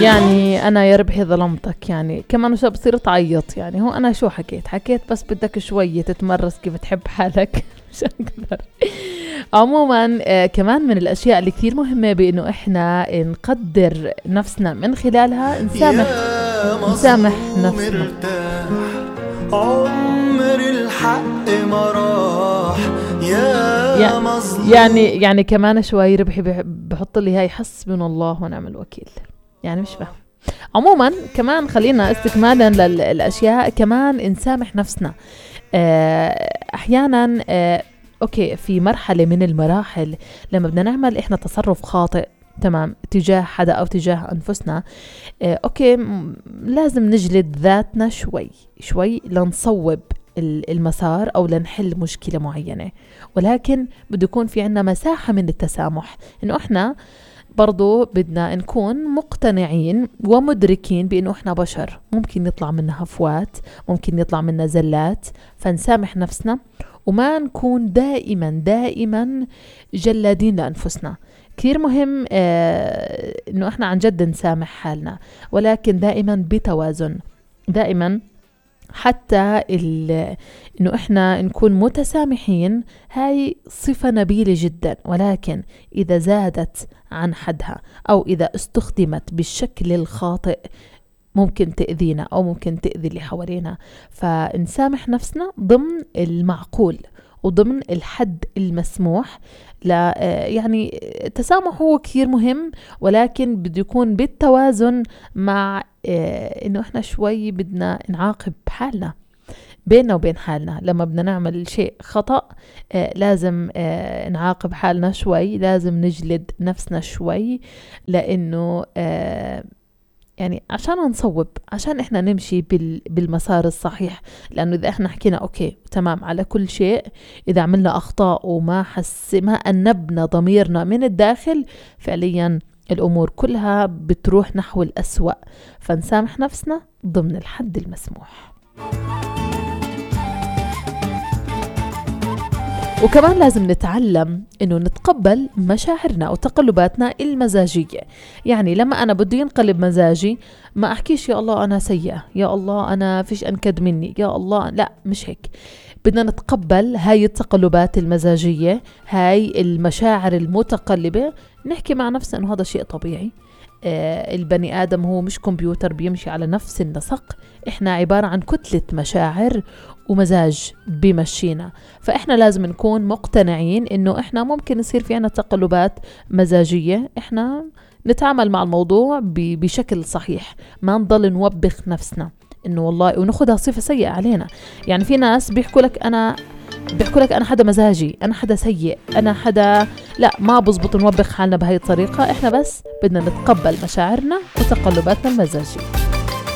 يعني أنا يا ربحي ظلمتك، يعني كمان شو بصير تعيط؟ يعني هو أنا شو حكيت بس بدك شوية تتمرس كيف تحب حالك مش أكثر. عموما كمان من الأشياء اللي كثير مهمة بأنه إحنا نقدر نفسنا من خلالها نسامح نفسنا. عمر الحق ما راح يعني كمان شوي ربحي بحط لي هاي حسبنا الله ونعم الوكيل، يعني مش فاهم. عموما كمان خلينا استكمالا للأشياء كمان نسامح نفسنا. أحيانا أوكي في مرحلة من المراحل لما بدنا نعمل إحنا تصرف خاطئ تمام تجاه حدا أو تجاه أنفسنا، أوكي لازم نجلد ذاتنا شوي لنصوب المسار أو لنحل مشكلة معينة، ولكن بده يكون في عنا مساحة من التسامح، إنه إحنا برضو بدنا نكون مقتنعين ومدركين بأنه إحنا بشر، ممكن يطلع منا هفوات، ممكن يطلع منا زلات، فنسامح نفسنا وما نكون دائما جلادين لأنفسنا. كثير مهم إنه إحنا عن جد نسامح حالنا، ولكن دائما بتوازن، دائما حتى إنه إحنا نكون متسامحين هاي صفة نبيلة جدا، ولكن إذا زادت عن حدها أو إذا استخدمت بالشكل الخاطئ ممكن تأذينا أو ممكن تأذي اللي حوالينا. فنسامح نفسنا ضمن المعقول وضمن الحد المسموح. لا يعني التسامح هو كثير مهم، ولكن بده يكون بالتوازن مع إنه إحنا شوي بدنا نعاقب حالنا بيننا وبين حالنا. لما بدنا نعمل شيء خطأ لازم نعاقب حالنا شوي، لازم نجلد نفسنا شوي، لأنه يعني عشان نصوب، عشان إحنا نمشي بالمسار الصحيح. لأنه إذا إحنا حكينا أوكي تمام على كل شيء، إذا عملنا أخطاء وما أنبنا ضميرنا من الداخل، فعليا الأمور كلها بتروح نحو الأسوأ. فنسامح نفسنا ضمن الحد المسموح. وكمان لازم نتعلم إنه نتقبل مشاعرنا وتقلباتنا المزاجية. يعني لما أنا بدي ينقلب مزاجي ما أحكيش يا الله أنا سيئة، يا الله أنا فيش أنكد مني، يا الله، لا مش هيك. بدنا نتقبل هاي التقلبات المزاجية، هاي المشاعر المتقلبة، نحكي مع نفسنا إنه هذا شيء طبيعي. البني آدم هو مش كمبيوتر بيمشي على نفس النسق، إحنا عبارة عن كتلة مشاعر ومزاج بمشينا. فإحنا لازم نكون مقتنعين إنه إحنا ممكن يصير في عنا تقلبات مزاجية، إحنا نتعامل مع الموضوع بشكل صحيح، ما نضل نوبخ نفسنا إنه والله ونأخذها صفة سيئة علينا. يعني في ناس بيحكوا لك أنا حدا مزاجي، أنا حدا سيء، أنا حدا، لا ما بزبط نوبخ حالنا بهاي الطريقة. إحنا بس بدنا نتقبل مشاعرنا وتقلباتنا المزاجية.